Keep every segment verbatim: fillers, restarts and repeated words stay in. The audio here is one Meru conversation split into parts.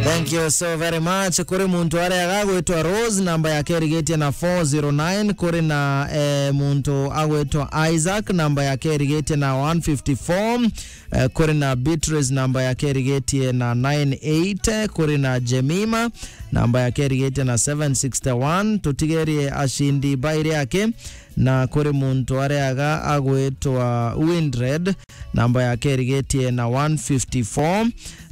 Thank you so very much. Kuri muntu aria agwitwa Rose, namba yake irigitie na four zero nine. Kuri na, eh, muntu agwitwa Isaac, namba yake irigitie na one fifty-four. Eh, kuri na Beatrice, namba yake irigitie na nine eight. Kuri na Jemima, namba yake irigitie na seven sixty-one. Tutigerie acindi bairi ake. Na kuri muntu aria aga agwitwa Windred, namba yake irigitie na one fifty-four.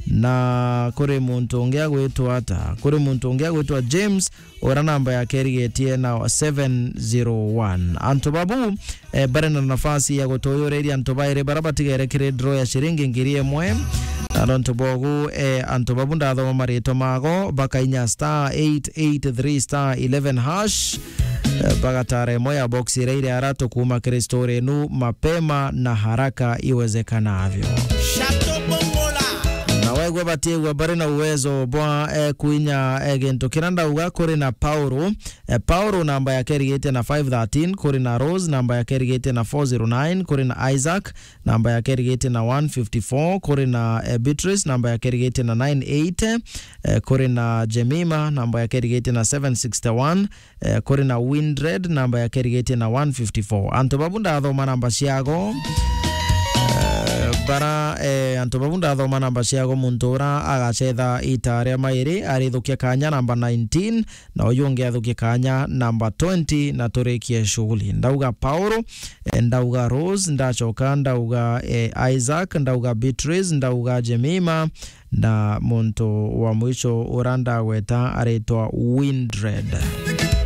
Na kuri muntu ungi agwitwa ata? Kuri muntu ungi agwitwa James, uria namba yake irigitie na seven zero one. Antu babu, eh, bari na nafasi ya gutuyuriria antu bairi bara batigere kiri draw ya ciringi ngiri imwe. Na nontu bogu, eh, antu babu ndathoma maritwa mago, bakainya star eight eight three star eleven hash. Eh, bagatara imwe ya box iria iri aratu kuuma kiri story inu mapema na haraka iwezekanavyo. Chateau Bongola. Na wegwe batiegwa bari na uwezo bwa, eh, kuinya, eh, gintu kiria ndauga. Kuri na Paulo. Eh, Paulo namba yake irigitie na five thirteen, kuri na Rose namba yake irigitie na four zero nine, kuri na Isaac namba yake irigitie na one fifty-four, kuri na, eh, Beatrice namba yake irigitie na nine eight, eh, kuri na Jemima namba yake irigitie na seven sixty-one, eh, kuri na Windred namba yake irigitie na one fifty-four. Antu babu ndathoma namba ciago, eh, bara, eh, antu babu ndathoma namba ciago, muntu ura agacetha ita ria mairi arithukia kanya namba nineteen, na uyu ungi athukie kanya namba twenty, na turikie shughuli. Ndauga Paulo, eh, ndauga Rose, ndacoka ndauga, eh, Isaac, ndauga Beatrice, ndauga Jemima, na muntu wa mwisho ura ndagweta aritwa Windred.